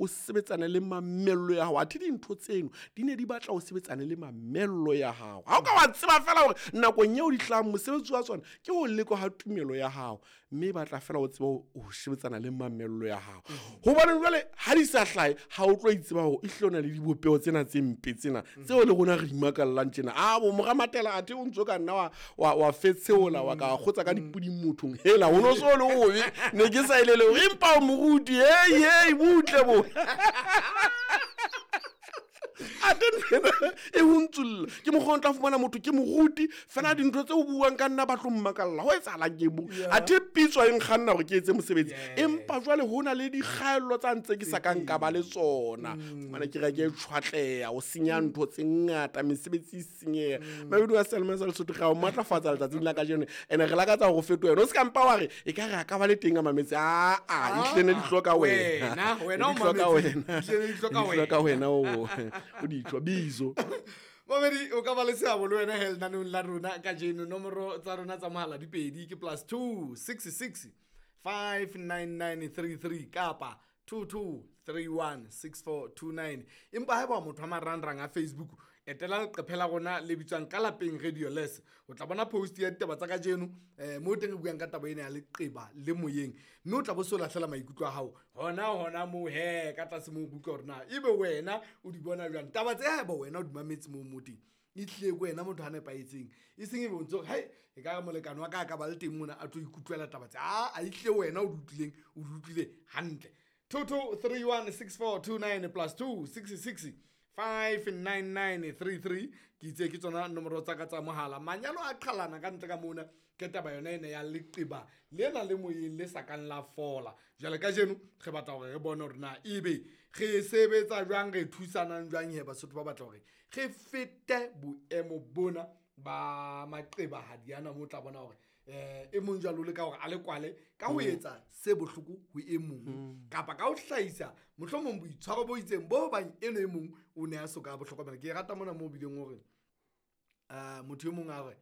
o sebetsane le mamello ya hao. Athe dintho tseno di ne di batla o sebetsane le mamello ya hao. Ha o ka wa tseba fela hore nakong eo di hlahang mosebetsi wa tsona ke ho lekwa ha tumelo ya hao, mme e batla fela o tseba ho sebetsana le mamello ya hao. Hobane jwale ha di sa hlahe, ha o tlo itseba hore e hlile o na le dibopeho tsena tse mpe tsena tseo le rona re imakallang tjena. A bo mora Matela, athe o ntso ka nna wa fetsheola, wa ka kgotsa ka dipuding mothong. Hela, ho no so le obe, ne ke sa elele hore empa o moruti. Hei, hei, butle bo. Ate nthwena e ho ntsulla ke mokgwa o tla fumana motho ke moruti fela dintho tse o buang ka nna ba tlo mmakalla ho etsahalang ke mo. Athe pitso e nkganna hore ke etse mosebetsi, empa jwale ho na le dikgaello tsa ntse ke sa ka nka ba le tsona. Fumana ke re ke tshwatleha o senya ntho tse ngata, mesebetsi e senyeha. Mabedi wa Selma sa Lesotho, ga o matlafatsa letsatsing la kajeno, ene re lakatsa hore o fetohe. O se ka mpa wa re e ka re a ka ba le teng a mametse. Aa, ehlile ne di hloka wena. Wena o Di hloka mametse. wena. Ehlile ne di hloka Di hloka wena, o ditjwa bizo. Mamedi, o ka ba le seabo le wena he lenaneong la rona kajeno. Nomoro tsa rona tsa mohala di pedi, ke +2 66 59933 kapa 22316429. Empa haeba motho wa marangrang a Facebook, etela leqephe la rona le bitswang Ka Lapeng Radio Les, o tla bona post ya ditaba tsa kajeno, mo teng re buang ka taba ena ya leqeba le moyeng, mme o tla bo so lahlela maikutlo a hao hona moo he ka tlase moo, utlwa hore na ebe wena o di bona jwang taba tse. Haeba wena o di mametse moo mo teng, e tlile ko wena motho a nepahetseng, e seng e bontshe hore hai e ka re molekane wa ka a ka ba le teng mona a tlo ikutlwela taba tse. A ehlile wena o di utlwileng, o di utlwile hantle. 22316429 +2 66 59933, ke itse ke tsona nomoro tsa ka tsa mohala. Manyalo a qhalana ka ntle ka mona ke taba yona ena ya leqeba lena le moyeng le sa kang la fola. Jwale kajeno re batla hore re bone hore na ebe re sebetsa jwang, re thusanang jwang he Basotho ba batla hore re fete boemo bona ba maqebahadi ana, mo tla bona hore e mong jwalo le ka hore a le kwale ka ho etsa se bohloko ho e mong, kapa ka ho hlahisa mohlomong boitshwaro bo itseng bo bang eno e mong o ne a soka bo hlokomela. Ke rata mona moo bileng hore motho e mong a re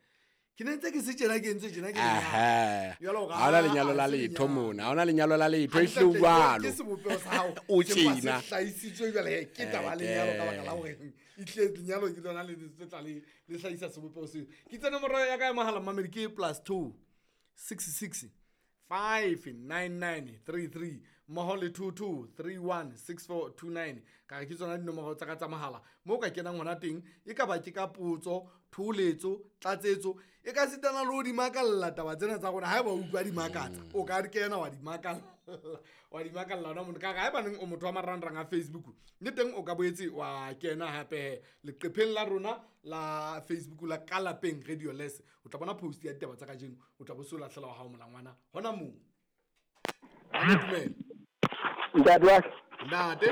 ke ne ntse ke se tjena, ke entswe tjena, ke lenyalo. Ha hona lenyalo la letho mona, ha hona lenyalo la letho, ehlile o jwalo. Ke sebopeho sa hao O se mpa se tjena. hlahisitswe jwale ke taba ya lenyalo ka baka la hore ehlile lenyalo ke lona le tla le hlahisa sebopeho seo. Ke tse nomoro ya ka ya mohala mamedi ke +2 66 59933 mmoho le 22316429. Ka re ke tsona dinomoro tsa ka tsa mohala moo ka kenang hona teng, e ka ba ke ka potso, thoholetso, tlatsetso, e ka sitana le ho di makalla taba tsena tsa rona. Haeba o utlwa di makatsa, o ka kena wa di makalla, wa di makalla hona mona. Ka re haeba neng o motho wa marangrang a Facebook, le teng o ka boetse wa kena hape leqepheng la rona la Facebook la Ka Lapeng Radio Les, o tla bona post ya ditaba tsa kajeno, o tla bo so lahlela wa hao molangwana hona moo. Dumela. Ntate wa ka. Ntate.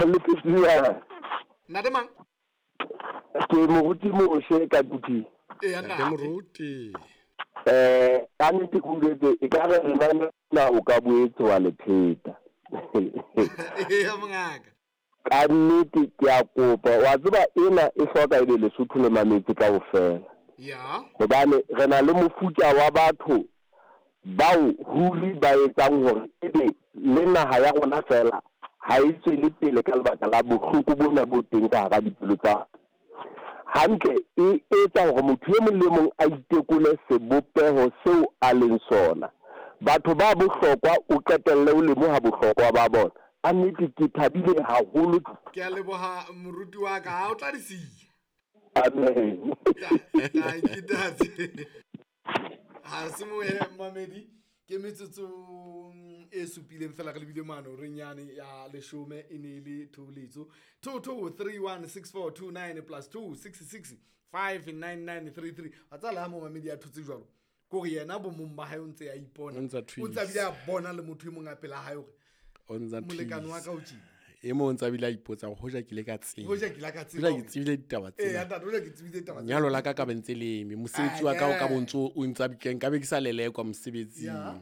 Le Ntate mang? Ke moruti Moshe ka Kuting. Eya, Ntate ntate. Moruti. Ka nnete ke utlwetse e ka re nna na o ka boetse wa le pheta. Eya, mongaka. Ka nnete ke a kopa, wa tseba ena e hloka ebe Lesotho le mametse kaofela. Ya. Hobane re na le mofuta wa batho bao ruri ba etsang hore ebe le naha ya rona fela ha e tswele pele ka lebaka la bohloko bona bo teng ka hara dipelo tsa hantle. E etsa hore motho e mong le mong a itekole sebopeho seo a leng sona. Batho ba bohlokwa o qetelle o lemoha bohlokwa ba bona. Ka nnete ke thabile haholo. Ke a leboha moruti wa ka, ha o tla di siya. Amen. Thank you, ntate. Ha se mohe mamedi, ke metsotso e supileng fela re lebile mano re nyane ya leshome, e ne e le thoholetso. 22316429 +2 66 59933. Wa tseba le ha mo mamedi a thotse jwalo, ke hore yena bo mong ba hae o ntse a ipona, O ntse a o ntse a bile a bona le motho e mong a pela hae hore O ntsa molekane wa thuisa. ka o tjena. E mong o ntse a bile a ipotsa hore hoja ke ile ka tseba. Hoja ke ile ka tseba Hoja ke hore- tsebile ditaba Ee, tsena. ntate, hoja ke tsebile ditaba tsena. Lenyalo la ka ka be ntse le eme, mosebetsi wa ka o ka bo ntso o ntsa nka be ke sa lelekwa mosebetsing. Ya.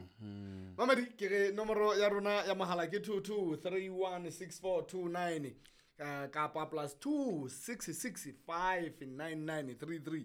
Mamedi, ke re nomoro ya rona ya mohala ke 22316429, kapa +2 66 59933.